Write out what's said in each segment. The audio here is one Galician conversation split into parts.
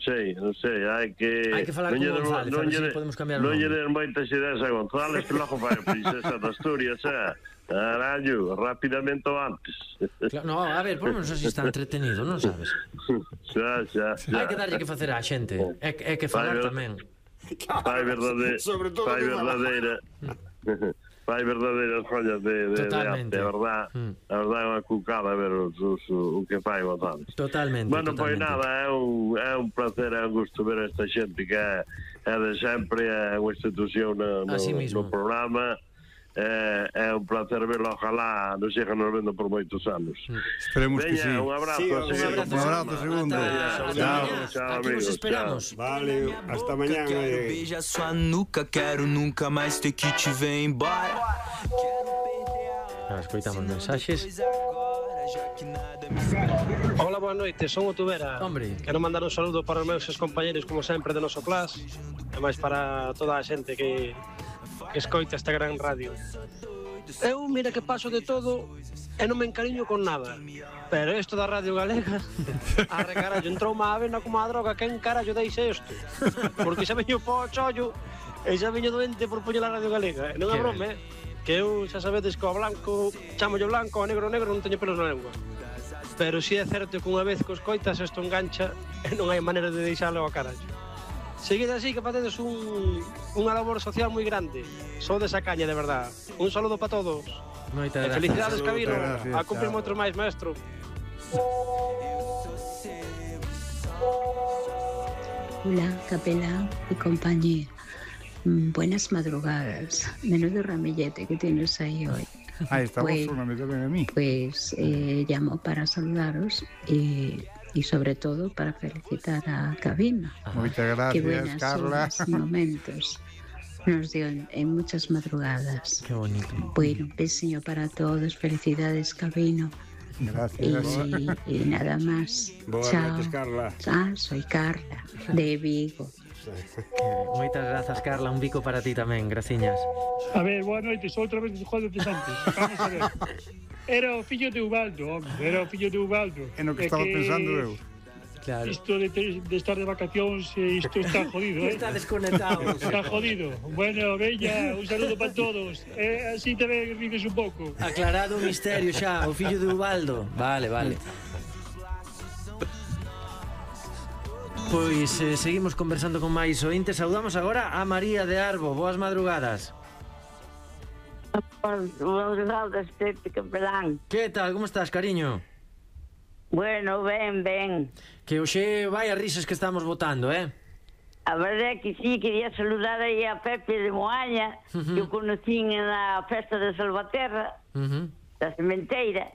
hai que falar con González, a ver se podemos cambiar o nome. Non lle nome. den moitas ideas a González, que logo vai a princesa de Asturias, carallo, rapidamente ou antes. No, a ver, por menos así está entretenido, non sabes? Xa. Hai que darlle que facer á xente, é que falar tamén. Fai verdadeira. Fai verdadeiras follas de arte, a verdad é unha cucada ver o que fai González. Totalmente. Bueno, pois nada, é un placer, é un gusto ver esta xente que é de sempre, é unha institución no programa. É un placer verlo, ojalá nos sigan nos vendo por moitos anos. Esperemos que sí. Un abrazo. Un abrazo, segundo. Chao, aquí nos esperamos. Vale, hasta mañana. Quero beijar sua nuca, quero nunca mais ter que te ver embora. Escoitamos mensaxes. Hola, boa noite, son o Tubera. Hombre. Quero mandar un saludo para os meus compañeros, como sempre, de noso class, e máis para toda a xente que escoita esta gran radio. Eu, mira que paso de todo e non me encariño con nada. Pero isto da Radio Galega, arre carallo, entrou má avena como a droga, quen carallo deixe isto? Porque xa veño po chollo e xa veño doente por poñer a Radio Galega. E non é broma, que eu xa sabedes que o blanco, chamolle blanco, o negro non teño pelos na lengua. Pero si é certo que unha vez que os coitas isto engancha e non hai maneira de deixalo ao carallo. Seguide así que facedes unha labor social moi grande. Sodes a caña, de verdad. Un saludo para todos. Moitas gracias. Felicidades, Cabino. A cumplir moito máis, maestro. Hola, capelán y compañía. Buenas madrugadas. Menudo ramillete que tienes ahí hoy. Ahí está, vos me tamén a mí. Pues llamo para saludaros y sobre todo para felicitar a Cabina. Muchas gracias, Qué buenas Carla. horas y momentos nos dio en muchas madrugadas. Qué bonito. Bueno, un besillo para todos, felicidades, Cabino. Gracias. Y nada más. Boas noites, Carla. Soy Carla, de Vigo. Moitas grazas, Carla, un bico para ti tamén, graciñas. A ver, boa noite, sou outra vez de Juan de Santos. Vamos a ver. Era o fillo de Ubaldo, hombre, era o fillo de Ubaldo. É no que estaba pensando eu. Claro. Isto de estar de vacacións, isto está jodido, Está desconectado. Está jodido. Bueno, veña, un saludo para todos. Así tamén vives un pouco. Aclarado o misterio xa, o fillo de Ubaldo. Vale. Pois seguimos conversando con máis ointes. Saudamos agora a María de Arbo. Boas madrugadas. Boas madrugadas, Pepe Capelán. Que tal, como estás, cariño? Bueno, ben. Que hoxe vai a risas que estamos votando, A verdade é que sí, quería saludar aí a Pepe de Moaña, que o conocín na festa de Salvaterra, da Sementeira.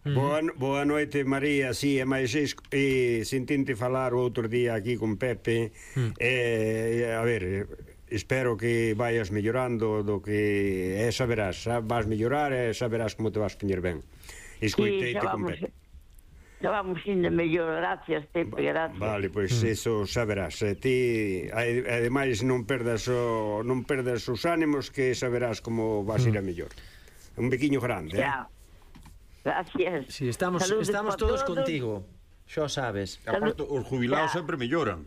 Boa noite, María. Sí, e máis sentinte falar o outro día aquí con Pepe. A ver, espero que vayas mellorando do que saberás, vas mellorar e saberás como te vas poñer ben. Escoiteite con Pepe. Xa vamos indo mellor, gracias, Pepe, gracias. Vale, pois eso saberás. Ti, ademais, non perdas os ánimos, que saberás como vas ir a mellor. Un biquiño grande, Gracias. Sí, estamos todos contigo. Xo sabes. Aparte, os jubilados sempre melloran.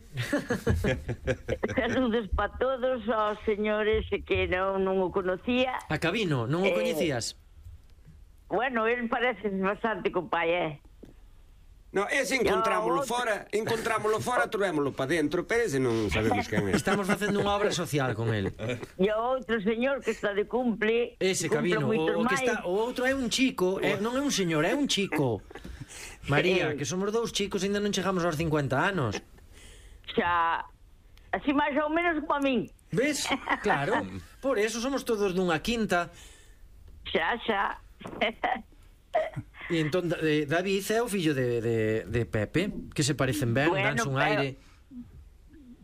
Saludos para todos os señores que non o conocía. A Cabino, non o coñecías? Bueno, él parece bastante compai, No, ese encontrámoslo fora, trovémoslo para dentro, pero ese non sabemos quen é. Estamos facendo unha obra social con el. E o outro señor que está de cumple. Ese Cabino, o outro é un chico, non é un señor, é un chico. María, que somos dous chicos e ainda non chegamos aos 50 anos. Xa, así máis ou menos como a min. Ves? Claro, por eso somos todos dunha quinta. Xa. E entón David é o fillo de Pepe, que se parecen ben, danse un aire.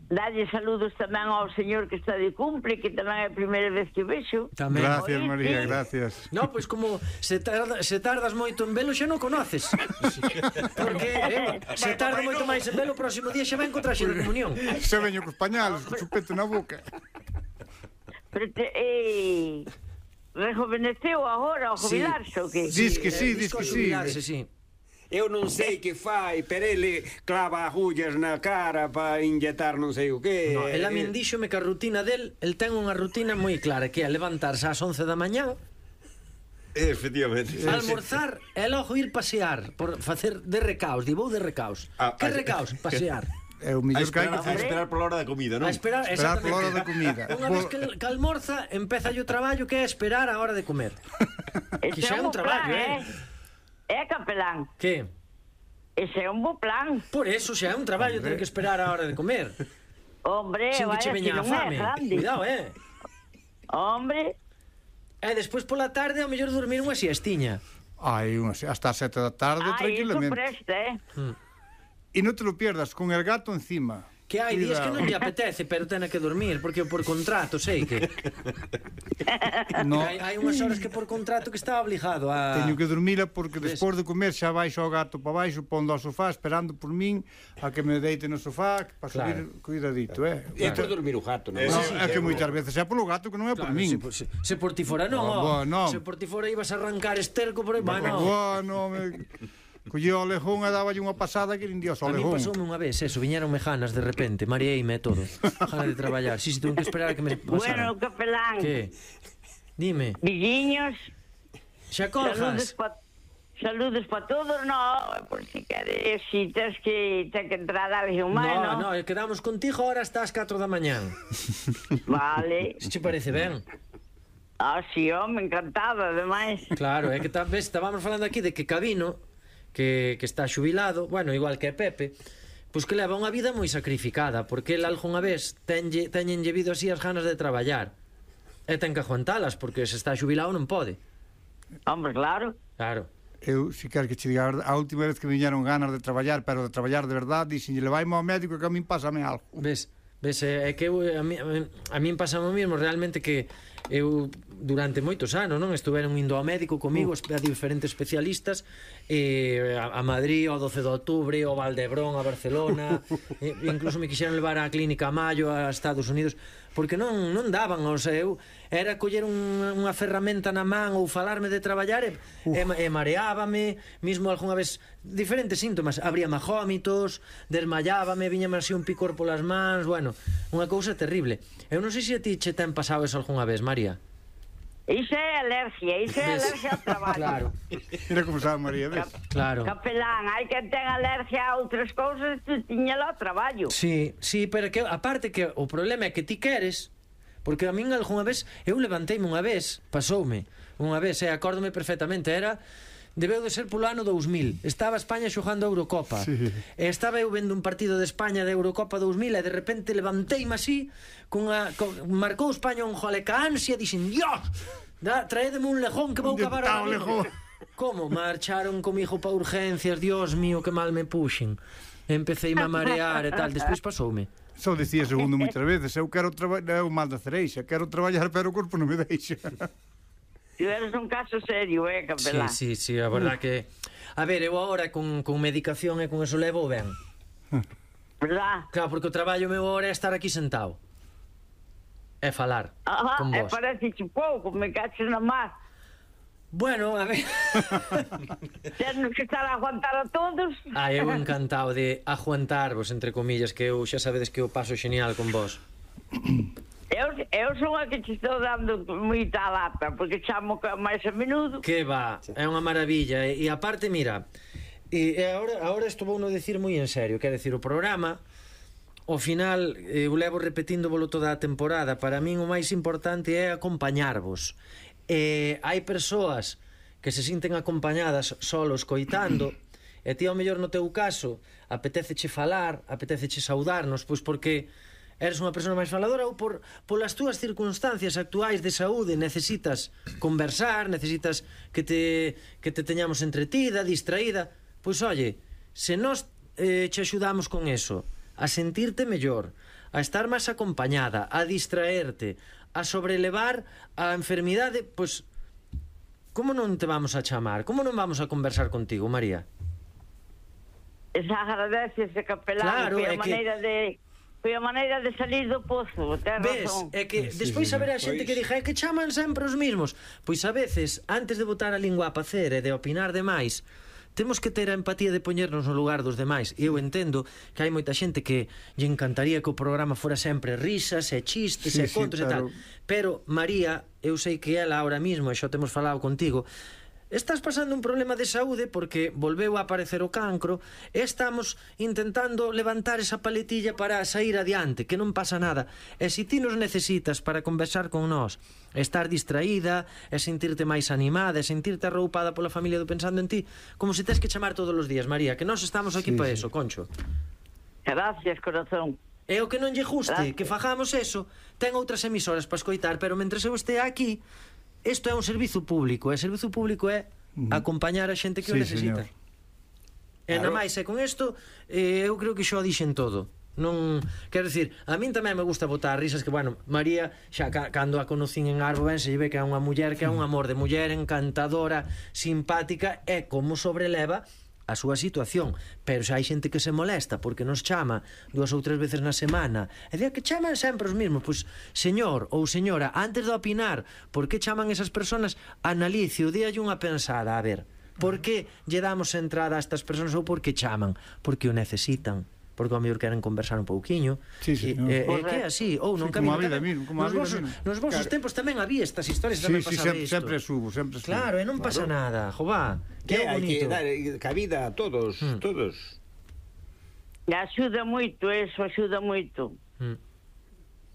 Dalle saludos tamén ao señor que está de cumple, que tamén é a primeira vez que vexo. Gracias, María, gracias. No, pois como se tardas moito en velo, xa non conoces. Porque se tarda moito máis en velo, o próximo día xa ven co traxe de comunión. Se veño cos pañales, co chupete na boca. Pero rejuveneceu agora ao jubilarse, o que? Diz que sí. Sí. eu non sei que fai, pero ele clava agullas na cara para inyectar non sei o que. No, el a min díxome que a rutina del, el ten unha rutina moi clara, que é levantarse ás 11 da mañá, efectivamente, almorzar e logo ir pasear, por facer de recaos, vou de recaos. Que recaos? Pasear. É o mellor que hai que a esperar pola hora da comida, non? A esperar pola hora da comida. Unha vez que almorza, empeza o traballo, que é esperar a hora de comer. Que xa é un traballo, capelán. Que? Ese é un bo plan. Por eso xa é un traballo ter que esperar a hora de comer. Hombre, sin que che veña a fame. Cuidado, Hombre. E despois pola tarde ao mellor dormir unha siestiña. Ai, hasta as 7 da tarde tranquilamente. Ai, iso presta, E non te lo pierdas con el gato encima. Que hai días que non lle apetece, pero tena que dormir, porque por contrato sei que no. Hai unhas horas que por contrato que está obligado a... Teño que dormila porque despois de comer xa baixo o gato para baixo, pondo ao sofá esperando por min a que me deite no sofá para subir cuidadito, É por dormir o gato, non? É que moitas veces é polo gato que non é por min. Se por ti fora non, se por ti fora ibas a arrancar esterco por aí, bueno, collía o lejón e daballe unha pasada que nin dios ao lejón. A mí pasoume unha vez eso, viñeronme ganas de repente, mareeime todo, ganas de traballar. Si, tuve que esperar a que me pasara. Bueno, capelán. Que? Dime. Villiños. Xa colgas. Saludos para todos, por si queres, si tens que entrar alguén máis, no, quedamos contigo ahora hasta as 4 da mañán. Vale. Se che parece ben? Si, home, encantada, ademais. Claro, é que estábamos falando aquí de que Cabino, que está xubilado, bueno, igual que Pepe, pois que leva unha vida moi sacrificada, porque el algunha vez teñenlle vido así as ganas de traballar, e ten que aguantalas, porque se está xubilado non pode. Hombre, claro. Claro. Eu, se quer que che diga, a última vez que viñeron ganas de traballar, pero de traballar de verdade, dixenlle, levaime ao médico que a min pásame algo. Ves, é que a min pásame o mismo, realmente, que eu durante moitos anos estuveron indo ao médico comigo a diferentes especialistas, a Madrid, ao 12 de outubro, ao Valdebrón, a Barcelona, incluso me quixeron levar á clínica Mayo a Estados Unidos, porque non daban, o sea, eu era coller unha ferramenta na man ou falarme de traballar e mareábame, mismo algunha vez diferentes síntomas, abríame jómitos, desmayábame, viñame así un picor polas mans, bueno, unha cousa terrible. Eu non sei se a ti che ten pasado eso algunha vez, María. Iso é alergia ao traballo. Claro. Mira como sabe María, ves? Claro. Capelán, hai que ten alergia a outras cousas, tu tiñalo ao traballo. Sí, pero que aparte que o problema é que ti queres, porque a min algunha vez, eu levanteime unha vez, pasoume unha vez, acórdome perfectamente, debeu de ser polo ano 2000. Estaba España xogando a Eurocopa. Sí. E estaba eu vendo un partido de España de Eurocopa 2000 e de repente levanteime así, marcou España un gol e ca ansia, dixen, Dios, traédeme un lejón que vou cavar a lejón. Como? Marcharon comigo pa urgencias, Dios mío, que mal me puxen. Empeceime a marear e tal, despois pasoume. Só dicía segundo moitas veces, eu quero traballar, é o mal da cereixa, quero traballar, pero o corpo non me deixa. Tu eres un caso serio, capelán? Sí, a verdad que... A ver, eu agora con medicación e con eso levo ben. Verdad? Claro, porque o traballo meu agora é estar aquí sentado. É falar con vos. Parece pouco, me caches na mar. Bueno, a ver... Temos que estar a aguantar a todos. Eu encantado de aguantarvos, entre comillas, que eu xa sabedes que eu paso xenial con vos. Eu son a que te estou dando moita lata, porque chamo máis a menudo. Que va, é unha maravilla. E aparte, mira, agora isto vou non decir moi en serio, quer decir, o programa, ao final, eu levo repetíndovolo toda a temporada, para min o máis importante é acompañarvos. Hai persoas que se sinten acompañadas solos coitando, e ti ao mellor no teu caso apeteceche falar, apeteceche saudarnos, pois porque eres unha persona máis faladora ou polas túas circunstancias actuais de saúde necesitas conversar, necesitas que te teñamos entretida, distraída. Pois oye, se nós che axudamos con eso, a sentirte mellor, a estar máis acompañada, a distraerte, a sobrelevar a enfermidade, pois como non te vamos a chamar? Como non vamos a conversar contigo, María? Esa agradeces, capelán, claro, foi a maneira de salir do pozo, ten razón. É que despois haberá xente que diga que chaman sempre os mismos. Pois a veces, antes de botar a lingua a pacer e de opinar demais, temos que ter a empatía de poñernos no lugar dos demais. Eu entendo que hai moita xente que lle encantaría que o programa fora sempre risas e chistes e contos e tal. Pero, María, eu sei que ela ahora mismo, e xa temos falado contigo, estás pasando un problema de saúde porque volveu a aparecer o cancro e estamos intentando levantar esa paletilla para sair adiante, que non pasa nada. E se ti nos necesitas para conversar con nós, estar distraída, e sentirte máis animada, e sentirte arroupada pola familia do Pensando en Ti, como se tes que chamar todos os días, María, que nós estamos aquí para eso, Concho. Gracias, corazón. E o que non lle guste, que fagamos eso, ten outras emisoras para escoitar, pero mentres eu estea aquí, isto é un servizo público, e o servizo público é acompañar a xente que o necesita. E na máis, e con isto, eu creo que xo dixen todo. Non, quero dicir, a min tamén me gusta botar risas, que, bueno, María, xa cando a conocín en Arbo, ben, se lle ve que é unha muller que é un amor de muller, encantadora, simpática, e como sobreleva a súa situación, pero xa hai xente que se molesta porque nos chama 2 ou 3 veces na semana e di que chaman sempre os mismos. Pois, señor ou señora, antes de opinar por que chaman esas personas, analice o díalle unha pensada, a ver, por que lle damos entrada a estas personas ou por que chaman? Porque o necesitan, porque ao mellor queren conversar un pouquiño. Sí, sí, que é así, ou non como a vida mismo, nos vosos tempos tamén había estas historias, tamén pasaba isto. Sempre subo. Claro, e non pasa nada, jová. Que é bonito. Hai que dar cabida a todos. Axuda moito, eso axuda moito.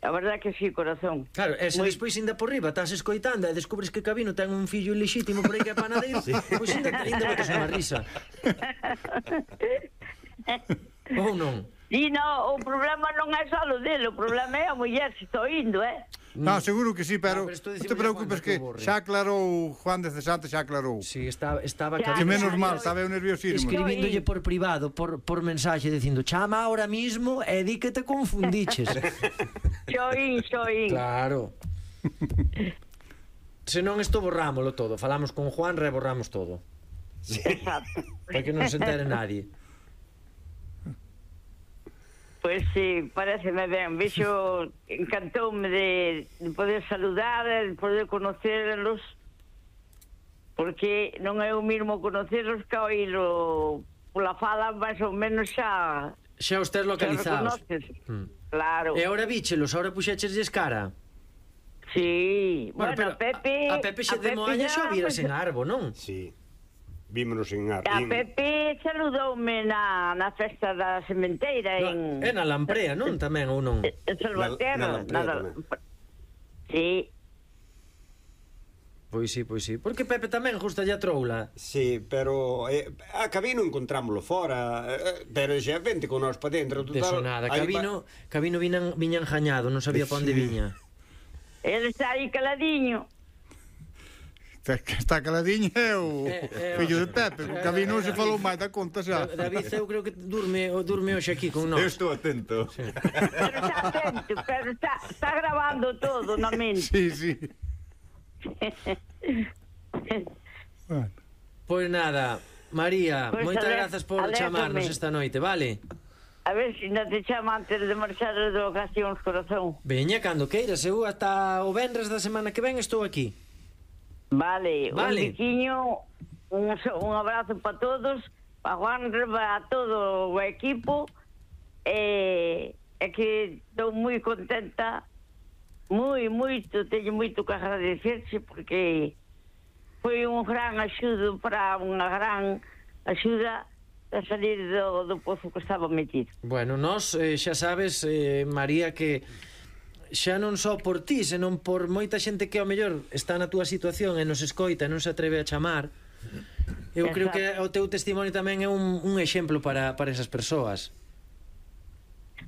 A verdade que sí, corazón. Claro, e se despois ainda por riba estás escoitando e descubres que Cabino ten un fillo ilexítimo por aí que é panadeiro, pois ainda botas unha risa. Ou non? Sí, no, o problema non é só o dele, o problema é a muller se estou indo, Non, seguro que sí, pero non te preocupes que xa aclarou Juan de Cesante, xa aclarou. Sí, estaba que menos mal, estaba eu nerviosísimo. Escribíndolle por privado, por mensaxe, dicindo, chama ahora mismo e di que te confundiches. Xoín. Claro. Se non isto borrámoslo todo, falamos con Juan, reborramos todo. Exacto. Para que non se entere nadie. Pois sí, pareceme ben. Vexo, encantoume de poder saludar, de poder conocerlos, porque non é o mismo conocerlos que oírlo pola fala, máis ou menos xa... Xa os tes localizados. Claro. E agora víchelos, agora puxéchesles cara. Sí. Bueno, Pepe... A Pepe xe de Moaña xa viras en Arbo, non? Sí. Vímonos en Arbo. A Pepe saludoume na festa da sementeira en... É na Lamprea, non? Tamén, ou non? En Salvaterra. Sí. Pois sí. Porque Pepe tamén justa a troula. Sí, pero a Cabino encontrámoslo fora, pero xa vente con nós para dentro. Deso nada, Cabino viña enjañado, non sabía pa onde viña. Ele está aí caladiño. Está caladiño é o fillo de Pepe. O Cabino se falou máis da conta xa. David, eu creo que durme hoxe aquí con nós. Eu estou atento. Sí. Pero está grabando todo na mente. Sí. Bueno. Pois nada, María, moitas grazas por chamarnos esta noite, vale? A ver se non te chama antes de marchar de vacacións, corazón. Veña, cando queiras, eu ata o venres da semana que ven estou aquí. Vale. Un biquiño, un abrazo para todos, para Juan, para todo o equipo, e que estou moi contenta, teño moito que agradecerche, porque foi un gran axudo para unha gran axuda a salir do pozo que estaba metido. Bueno, nós xa sabes, María, que xa non só por ti, senón por moita xente que ao mellor está na túa situación e nos escoita e non se atreve a chamar. Eu creo que o teu testimonio tamén é un exemplo para esas persoas.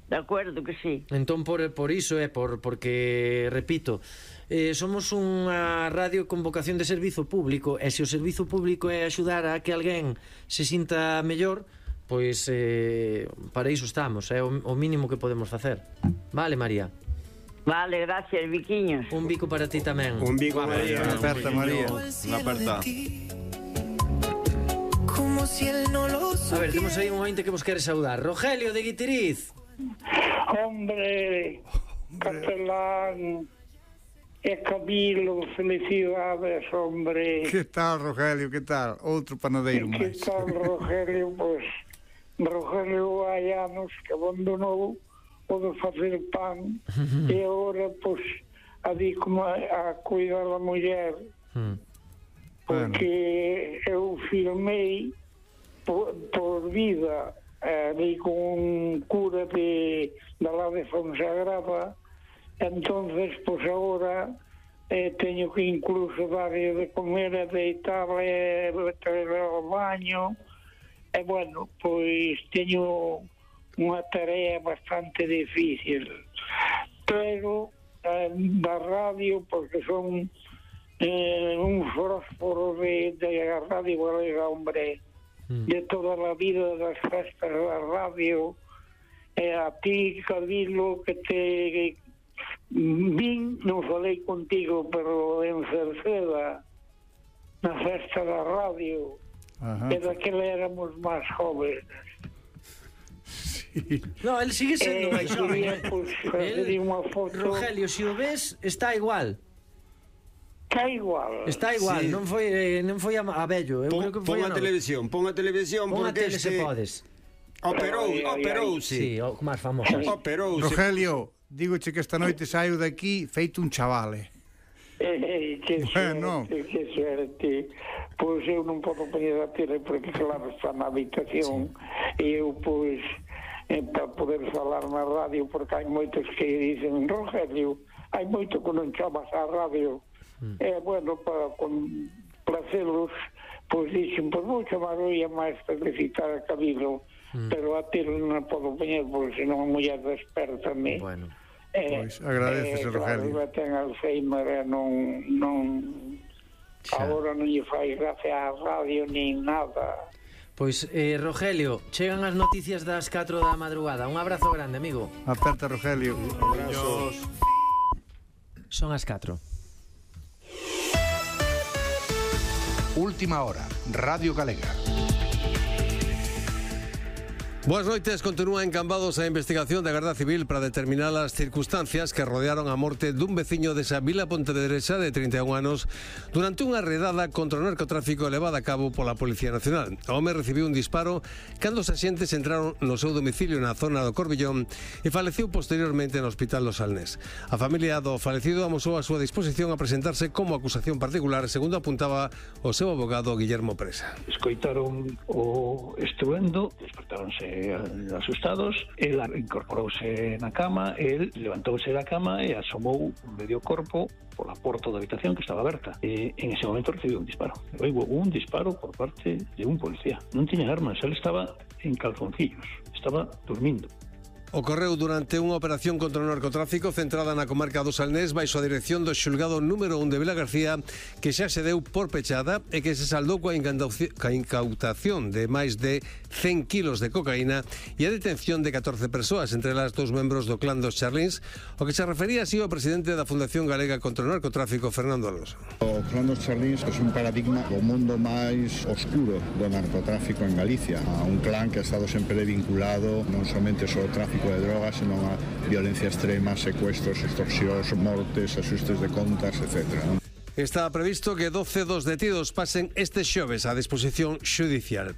De acordo que sí. Entón por iso porque, repito, somos unha radio con vocación de servizo público, e se o servizo público é axudar a que alguén se sinta mellor, pois para iso estamos, é o mínimo que podemos facer. Vale, María? Vale, gracias, biquiños. Un bico para ti tamén. Un bico, María. Unha aperta, María. Unha aperta. A ver, temos aí un ointe que vos quere saudar. Rogelio de Guitiriz. Hombre, capelán. Camilo, felicidades, hombre. Que tal, Rogelio, que tal? Outro panadeiro máis. Que tal, Rogelio? Pois, Rogelio hai anos que abandonou o de facer pan e agora, pois, adico-me a cuidar da muller, porque eu filmei por vida ali con un cura da lá de Fonsagrada. Entonces, pues agora teño que incluso darle de comer, deitarle, traerle ao baño. E bueno, pois teño unha tarea bastante difícil. Pero da radio, porque son un fósforo de Radio Galega, hombre, de toda a vida das festas da radio. E a ti, Camilo, que te... Vin, non falei contigo, pero en Cerceda, na festa da radio, e daquela éramos máis jóvenes. Sí. No, él sigue sendo máis joven. Rogelio, se o ves, está igual. Está igual. Está igual, sí. Non foi a vello. Pon a televisión, pon a tele se podes. Operouse. Sí, o máis famoso. Rogelio, dígoche que esta noite saio daqui feito un chavale. Que suerte. Pois eu non podo poñer a tele porque claro está na habitación e eu pois para poder falar na radio, porque hai moitos que dicen, Rogelio, hai moito que non chamas á radio. E bueno, para complacelos, pois dixen, pois vou chamar hoy a máis felicitar a Camilo, pero a tele non a podo poñer porque senón a muller desperta-me. Bueno. Pois agradecese, Rogelio. Claro, ten Alzheimer e non agora non lle fai gracia á radio nin nada. Pois, Rogelio, chegan as noticias das 4 da madrugada. Un abrazo grande, amigo. Aperta, Rogelio. Abrazos. Son as 4. Última hora, Radio Galega. Boas noites, continúa en Cambados a investigación da Garda Civil para determinar as circunstancias que rodearon a morte dun veciño desa vila pontevedresa de 31 anos durante unha redada contra o narcotráfico levada a cabo pola Policía Nacional. O home recibiu un disparo cando os axentes entraron no seu domicilio na zona do Corbillón e faleciu posteriormente no Hospital do Salnés. A familia do falecido amosou a súa disposición a presentarse como acusación particular, segundo apuntaba o seu abogado Guillermo Presa. Escoitaron o estruendo, despertáronse asustados, el incorporouse na cama, el levantouse da cama e asomou medio corpo pola porta da habitación que estaba aberta. E en ese momento recibiu un disparo. Houve un disparo por parte de un policía. Non tiña armas, el estaba en calzoncillos, estaba dormindo. Ocorreu durante unha operación contra o narcotráfico centrada na comarca do Salnés baixo a dirección do xulgado número 1 de Vila García, que xa se deu por pechada e que se saldou coa incautación de máis de 100 kilos de cocaína e a detención de 14 persoas, entre elas 2 membros do clan dos Charlins, o que se refería así o presidente da Fundación Galega contra o Narcotráfico, Fernando Alonso. O clan dos Charlins é un paradigma do mundo máis oscuro do narcotráfico en Galicia, a un clan que ha estado sempre vinculado non somente ao tráfico de drogas, senón a violencia extrema, secuestros, extorsións, mortes, asustes de contas, etc. Está previsto que 12 dos detidos pasen este xoves á disposición xudicial.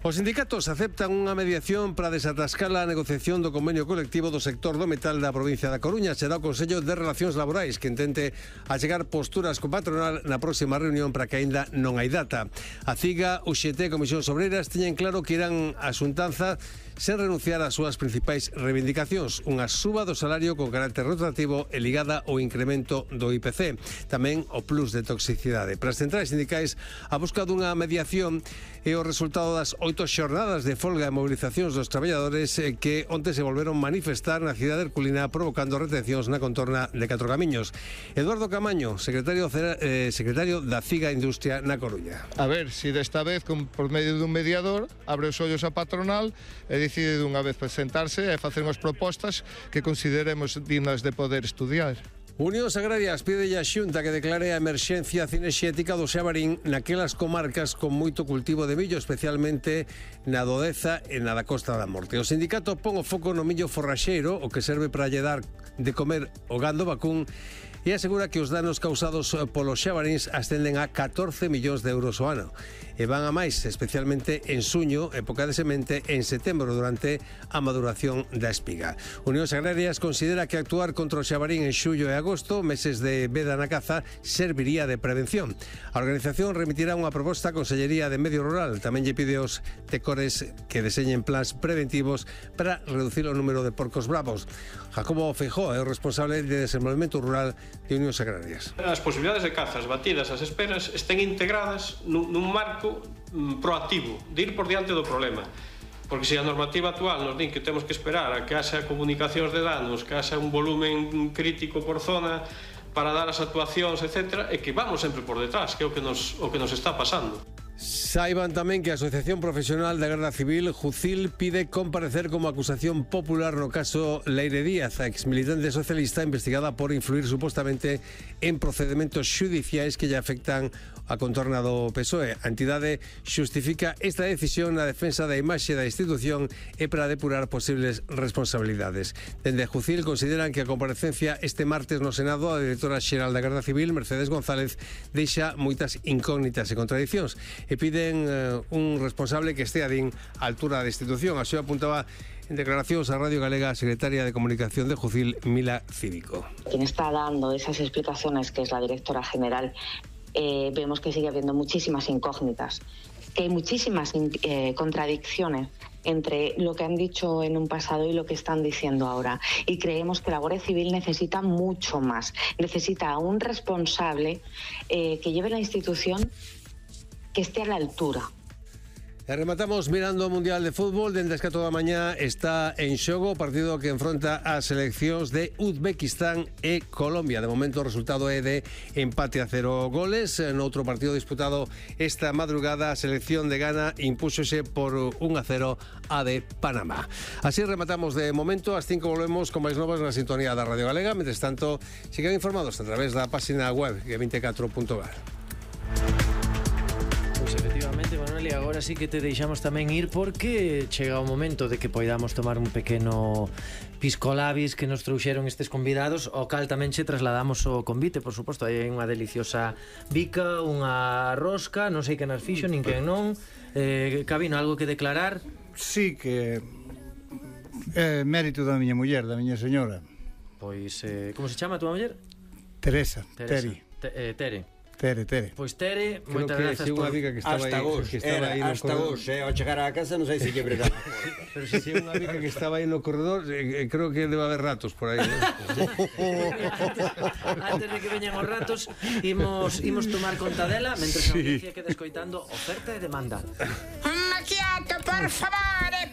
Os sindicatos aceptan unha mediación para desatascar a negociación do convenio colectivo do sector do metal da provincia da Coruña. Será o Consello de Relacións Laborais que intente achegar posturas co patronal na próxima reunión para que aínda non hai data. A CIGA, UGT e Comisións Obreiras teñen claro que irán a xuntanza sen renunciar ás súas principais reivindicacións, unha suba do salario con carácter rotativo e ligada ao incremento do IPC, tamén o plus de toxicidade. Para as centrais sindicais, a busca dunha mediación é o resultado das 8 xornadas de folga e mobilizacións dos traballadores que onte se volveron manifestar na cidade herculina provocando retencións na contorna de Catro Camiños. Eduardo Camaño, secretario da CIGA Industria na Coruña. A ver, si desta vez, por medio dun mediador, abre os ollos a patronal e decide dunha vez presentarse e facer unhas propostas que consideremos dignas de poder estudiar. Unións Agrarias pide a Xunta que declare a emerxencia cinexética do Xabarín naquelas comarcas con moito cultivo de millo, especialmente na do Deza e na da Costa da Morte. O sindicato pon o foco no millo forraxeiro, o que serve para lle dar de comer o gando vacún, e asegura que os danos causados polos xabaríns ascenden a 14 millóns de euros ao ano e van a máis, especialmente en suño, época de semente, en setembro durante a maduración da espiga. Unións Agrarias considera que actuar contra o xabarín en xullo e agosto, meses de veda na caza, serviría de prevención. A organización remitirá unha proposta á Consellería de Medio Rural. Tamén lle pide aos tecores que deseñen plans preventivos para reducir o número de porcos bravos. Jacobo Feijóo é o responsable de Desenvolvemento Rural de Unións Agrarias. As posibilidades de cazas batidas as esperas estén integradas nun marco proactivo, de ir por diante do problema. Porque se a normativa actual nos din que temos que esperar a que haxa comunicacións de danos, que haxa un volumen crítico por zona para dar as actuacións, etc., e que vamos sempre por detrás, que é o que nos está pasando. Saiban tamén que a Asociación Profesional da Garda Civil, Jucil, pide comparecer como acusación popular no caso Leire Díaz, a exmilitante socialista investigada por influir supostamente en procedementos xudiciais que lle afectan a contorna do PSOE. A entidade xustifica esta decisión na defensa da imaxe da institución e para depurar posibles responsabilidades. Dende Jucil consideran que a comparecencia este martes no Senado a directora xeral da Garda Civil, Mercedes González, deixa moitas incógnitas e contradicións e piden un responsable que estea din á altura da institución. Así apuntaba en declaracións a Radio Galega a secretaria de Comunicación de Jucil, Mila Cívico. Quien está dando esas explicaciones, que es la directora general, vemos que sigue habiendo muchísimas incógnitas, que hay muchísimas contradicciones entre lo que han dicho en un pasado y lo que están diciendo ahora. Y creemos que la Guardia Civil necesita mucho más. Necesita a un responsable que lleve la institución, que esté a la altura. E rematamos mirando o Mundial de Fútbol. Dende as 4 da mañá está en xogo o partido que enfronta as seleccións de Uzbekistán e Colombia. De momento o resultado é de empate a 0 goles. Noutro partido disputado esta madrugada, a selección de Ghana impúxose por 1-0 a de Panamá. Así rematamos de momento. Ás 5 volvemos con máis novas na sintonía da Radio Galega. Mentres tanto, sigan informados a través da página web g24.gar. Efectivamente, Manuel, e agora sí que te deixamos tamén ir porque chega o momento de que poidamos tomar un pequeno piscolabis que nos trouxeron estes convidados, ao cal tamén che trasladamos o convite, por suposto. Hai unha deliciosa bica, unha rosca, non sei que nas fixo, nin que non. Cabino, algo que declarar? Sí, que é mérito da miña muller, da miña señora. Pois, como se chama a túa muller? Teresa. Tere. Pois Tere, moitas grazas por... Hasta vos, ao chegar á casa non sei se lle bregar a porta. Pero se é unha bica que estaba aí no corredor, creo que debe haber ratos por aí, ¿no? Antes de que veñan os ratos, imos tomar conta dela, mentre a audiencia queda escoitando Oferta e Demanda. Un macchiato, por favore,